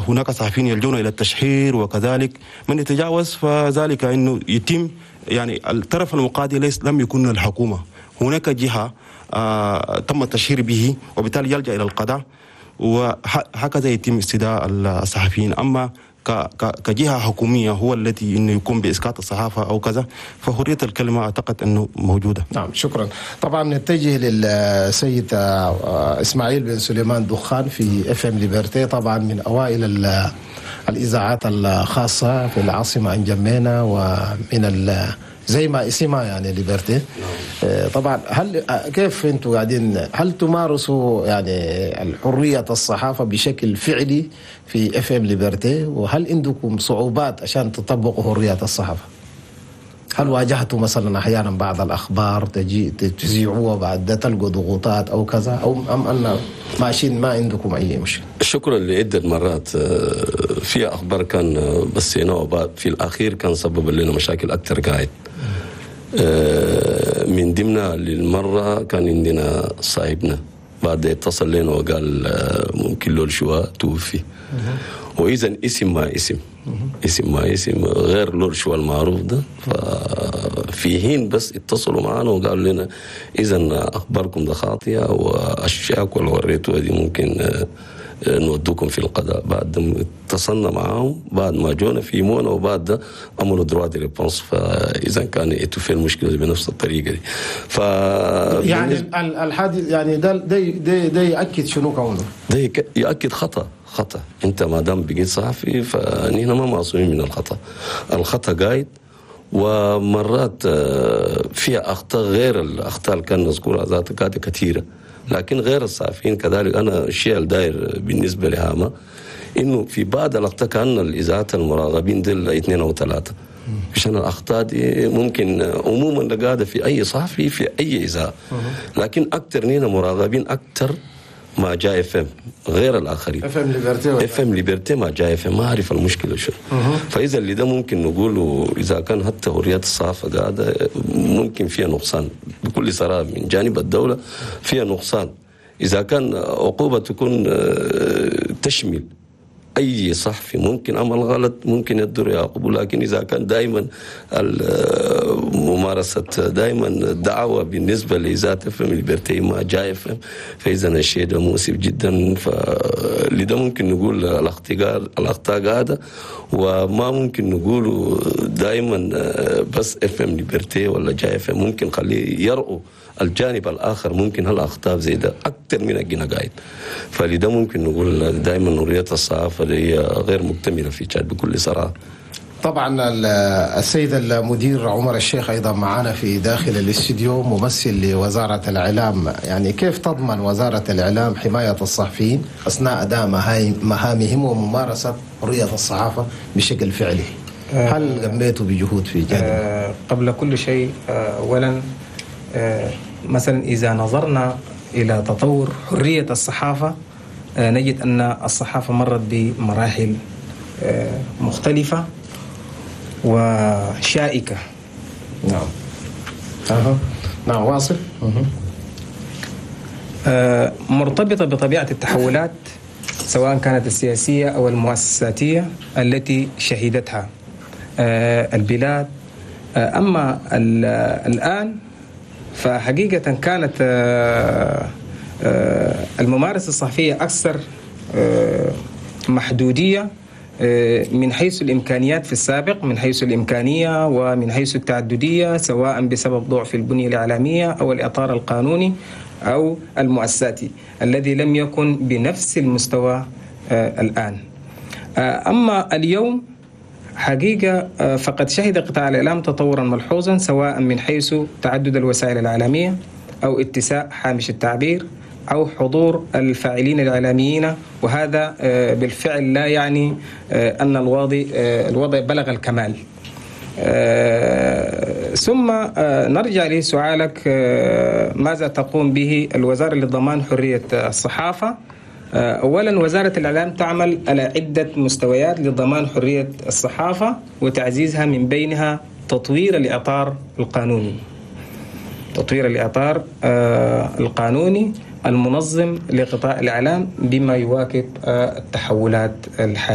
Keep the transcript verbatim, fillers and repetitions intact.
هناك صحفيين يلجون الى التشهير، وكذلك من يتجاوز فذلك انه يتم يعني الطرف المقاضي ليس لم يكن الحكومه، هناك جهه آه تم التشهير به وبالتالي يلجا الى القضاء، وهكذا يتم استدعاء الصحفيين. اما كجهه حكوميه هو التي انه يقوم باسقاط الصحافه او كذا، فحريه الكلمه اعتقد انه موجوده. نعم، شكرا. طبعا نتجه للسيد اسماعيل بن سليمان دخان في F M Liberté، طبعا من اوائل الاذاعات الخاصه في العاصمه انجمينا، ومن زي ما اسمها يعني Liberté. طبعا هل كيف انتم قاعدين، هل تمارسوا يعني الحريه الصحافه بشكل فعلي في F M Liberté؟ وهل عندكم صعوبات عشان تطبقوا حريه الصحافه؟ هل واجهتوا مثلا احيانا بعض الاخبار تجي تذيعوها بعد ده تلقوا ضغوطات او كذا، او ام ان ماشيين ما عندكم اي مشكله؟ شكرا. لعده مرات في اخبار كان بثيناها في الاخير كان سبب لنا مشاكل اكثر قاعد. من ضمنها للمره كان عندنا صاحبنا بعد اتصل لنا وقال ممكن لول شوا توفي، واذا اسم ما اسم اسم ما اسم غير لول شوا المعروف ده. ففي حين بس اتصلوا معنا وقالوا لنا اذا اخباركم ده خاطئه واشياء واللي وريتوها دي ممكن نودوكم في القضاء. بعد اتصلنا معاهم بعد ما جونا في مونا، وبعد ده عملوا droit de réponse، فاذا كان في المشكله بنفس الطريقه دي. ف يعني الحادث يعني ده ده ده, ده ياكد شنو كونه؟ ده ياكد خطا خطا انت ما دام بقيت صحفي فنحن ما معصومين من الخطا. الخطا قاعد، ومرات فيها اخطاء غير الاخطاء اللي كان نذكرها ذاتها قاعده كثيره، لكن غير الصحفيين كذلك. انا الشيء الداير بالنسبه لهاما انه في بعض الاخطاء كان الاذاعات المراقبين دل اثنين او ثلاثه، عشان الاخطاء دي ممكن عموما قاعده في اي صحفي في اي اذاعه، لكن اكثر نينا مراقبين اكثر مع جاي F M غير الاخرين. F M Liberté، F M Liberté مع جاي F M، ما اعرف المشكله شنو. فاذا اللي ده ممكن نقوله اذا كان حتى حريات الصحافه قاعده ممكن فيها نقصان بكل صراحه من جانب الدوله فيها نقصان. اذا كان عقوبه تكون تشمل اي صحفي ممكن عمل غلط ممكن يقدروا يعاقبوا، لكن اذا كان دائما ممارسه دائما الدعوه بالنسبه لاذاعه F M Liberté مع جاي F M، فاذا الشيء ده مؤسف جدا. فلذا ممكن نقول الاخطاء الاخطاء قاعده، وما ممكن نقوله دائما بس F M Liberté ولا جاي F M، ممكن خليه يرؤوا الجانب الاخر، ممكن هالاخطاء زي ده اكثر من الجنا قاعد. فلذا ممكن نقول دائما حريه الصحافه هي غير مكتمله في تشاد بكل صراحه. طبعا السيد المدير عمر الشيخ ايضا معنا في داخل الاستديو، ممثل لوزاره الاعلام. يعني كيف تضمن وزاره الاعلام حمايه الصحفيين اثناء اداء مهامهم وممارسه حريه الصحافه بشكل فعلي؟ هل قمتوا بجهود في جانب؟ آه قبل كل شيء اولا آه مثلا اذا نظرنا الى تطور حريه الصحافه آه نجد ان الصحافه مرت بمراحل آه مختلفه وشائكة. نعم. أه. نعم واصل. آه مرتبطة بطبيعة التحولات سواء كانت السياسية أو المؤسساتية التي شهدتها آه البلاد. آه أما الآن فحقيقة كانت آه آه الممارسة الصحفية أكثر آه محدودية من حيث الإمكانيات في السابق، من حيث الإمكانية ومن حيث التعددية، سواء بسبب ضعف البنية الإعلامية أو الإطار القانوني أو المؤسساتي الذي لم يكن بنفس المستوى الآن. أما اليوم حقيقة فقد شهد قطاع الإعلام تطورا ملحوظا، سواء من حيث تعدد الوسائل الإعلامية أو اتساع هامش التعبير أو حضور الفاعلين الإعلاميين، وهذا بالفعل لا يعني أن الوضع الوضع بلغ الكمال. ثم نرجع لسؤالك، ماذا تقوم به الوزارة لضمان حرية الصحافة؟ أولا وزارة الإعلام تعمل على عدة مستويات لضمان حرية الصحافة وتعزيزها، من بينها تطوير الإطار القانوني، تطوير الإطار القانوني المنظم لقطاع الإعلام بما يواكب التحولات الحالية.